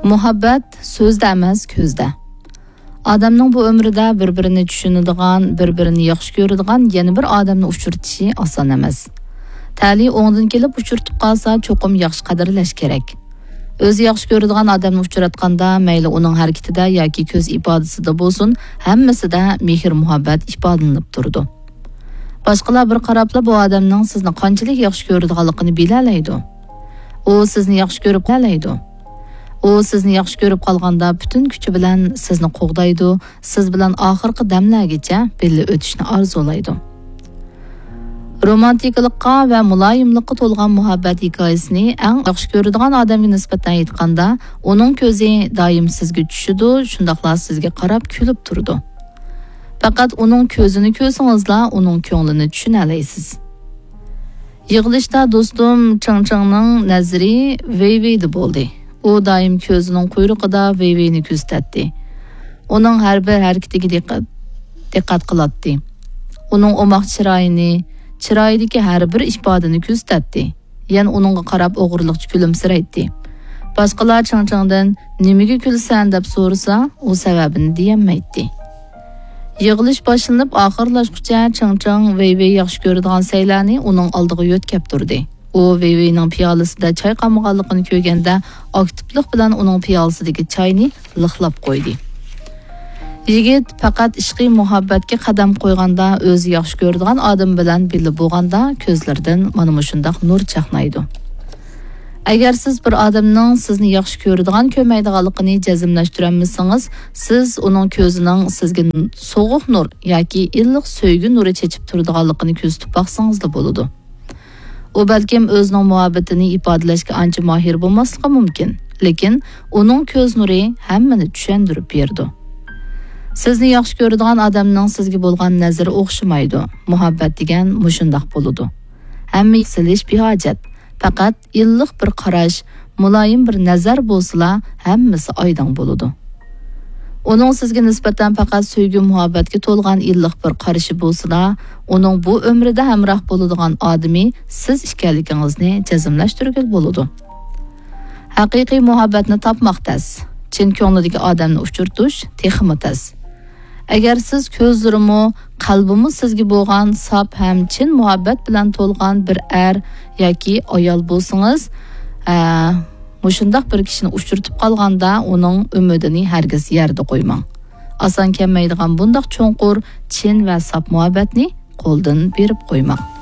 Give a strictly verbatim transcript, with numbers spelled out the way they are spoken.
مۇھەببەت سۆزدە ئەمەس، كۆزدە. ئادەمنىڭ بۇ ئۆمرىدە بىر-بىرىنى چۈشىنىدىغان، بىر-بىرىنى ياخشى كۆرىدىغان يەنە بىر ئادەمنى ئۇچرىتىشى ئاسان ئەمەس. تەلىيى ئوڭدىن كېلىپ ئۇچرىتىپ قالسا، چوقۇم ياخشى قەدىرلەش كېرەك. ئۆزى ياخشى كۆرىدىغان ئادەمنى ئۇچراتقاندا، مەيلى ئۇنىڭ ھەرىكىتىدە ياكى كۆز ئىپادىسىدە بولسۇن، ھەممىسىدە مېھىر-مۇھەببەت ئىپادىلىنىپ تۇرىدۇ. باشقىلار بىر قاراپلا بۇ ئادەمنىڭ سىزنى قانچىلىك ياخشى كۆرىدىغانلىقىنى بىلەلەيدۇ. ئۇ سىزنى ياخشى كۆرۈپ قالالايدۇ. ئۇ سىزنى ياخشى كۆرۈپ قالغاندا پۈتۈن كۈچى بىلەن سىزنى قوغدايدۇ، سىز بىلەن ئاخىرقى دەملەرگىچە بىللە ئۆتۈشنى ئارزۇلايدۇ. رومانتىكىلىققا ۋە مۇلايىملىققا تولغان مۇھەببەت ھېكايىسىنى ئەڭ ياخشى كۆرىدىغان ئادەمگە نىسبەتەن ئېيتقاندا، ئۇنىڭ كۆزى دائىم سىزگە چۈشىدۇ، شۇنداقلا سىزگە قاراپ كۈلۈپ تۇرىدۇ. پەقەت ئۇنىڭ كۆزىنى كۆرسىڭىزلا، ئۇنىڭ كۆڭلىنى چۈشىنەلەيسىز. يىغىلىشتا دوستۇم چېڭ چېڭنىڭ نەزىرى ۋېي ۋېيدە بولدى. ئۇ دائىم كۆزىنىڭ قۇيرۇقىدا ۋېي ۋېينى كۆزىتەتتى. ئۇنىڭ ھەر بىر ھەرىكىتىگە دىققەت، دىققەت قىلاتتى. ئۇنىڭ ئوماق چىرايىنى، چىرايىدىكى ھەر بىر ئىپادىنى كۆزىتەتتى. يەنە ئۇنىڭغا قاراپ ئوغرىلىقچە كۈلۈمسىرەيتتى. باشقىلار چېڭ چېڭدىن «نېمىگە كۈلىسەن؟» دەپ سورىسا، ئۇ سەۋەبىنى دېيەلمەيتتى. يىغىلىش باشلىنىپ ئاخىرلاشقۇچە چېڭ چېڭ ۋېي ۋېي ياخشى كۆرىدىغان سەيلەرنى ئۇنىڭ ئالدىغا يۆتكەپ تۇردى. ئۇ ۋېي ۋېينىڭ پىيالىسىدە چاي قالمىغانلىقىنى كۆرگەندە، ئاكتىپلىق بىلەن ئۇنىڭ پىيالىسىدىكى چاينى لىقلاپ قويدى. يىگىت پەقەت ئىشقىي مۇھەببەتكە قەدەم قويغاندا، ئۆزى ياخشى كۆرىدىغان ئادىمى بىلەن بىللە بولغاندا، كۆزلىرىدىن مانا مۇشۇنداق نۇر چاقنايدۇ. ئەگەر سىز بىر ئادەمنىڭ سىزنى ياخشى كۆرىدىغان، كۆرمەيدىغانلىقىنى جەزملەشتۈرەلمىسىڭىز، سىز ئۇنىڭ كۆزىنىڭ سىزگە سوغۇق نۇر ياكى ئىللىق سۆيگۈ نۇرى چېچىپ تۇرىدىغانلىقىنى كۆزىتىپ باقسىڭىزلا بولىدۇ. ئۇ بەلكىم ئۆزىنىڭ مۇھەببىتىنى ئىپادىلەشكە ئانچە ماھىر بولماسلىقى مۇمكىن، لېكىن ئۇنىڭ كۆز نۇرى ھەممىنى چۈشەندۈرۈپ بېرىدۇ. سىزنى ياخشى كۆرىدىغان ئادەمنىڭ سىزگە بولغان نەزىرى ئوخشىمايدۇ. مۇھەببەت دېگەن مۇشۇنداق بولىدۇ. ھەممە سېلىش بىھاجەت. پەقەت ئىللىق بىر قاراش، مۇلايىم بىر نەزەر بولسىلا، ھەممىسى ئايدىڭ بولىدۇ. ئۇنىڭ سىزگە نىسبەتەن پەقەت سۆيگۈ-مۇھەببەتكە تولغان ئىللىق بىر قارىشى بولسىلا، ئۇنىڭ بۇ ئۆمرىدە ھەمراھ بولىدىغان ئادىمى سىز ئىكەنلىكىڭىزنى جەزملەشتۈرگىلى بولىدۇ. ھەقىقىي مۇھەببەتنى تاپماق تەس. چىن كۆڭلىدىكى ئادەمنى ئۇچرىتىش تېخىمۇ تەس. ئەگەر سىز كۆزلىرىمۇ، قەلبىمۇ سىزگە بولغان ساپ ھەم چىن مۇھەببەت بىلەن تولغان بىر ئەر ياكى ئايال بولسىڭىز، ئە، مۇشۇنداق بىر كىشىنى ئۇچرىتىپ قالغاندا، ئۇنىڭ ئۈمىدىنى ھەرگىز يەردە قويماڭ. ئاسان كەلمەيدىغان بۇنداق چوڭقۇر، چىن ۋە ساپ مۇھەببەتنى قولدىن بېرىپ قويماڭ.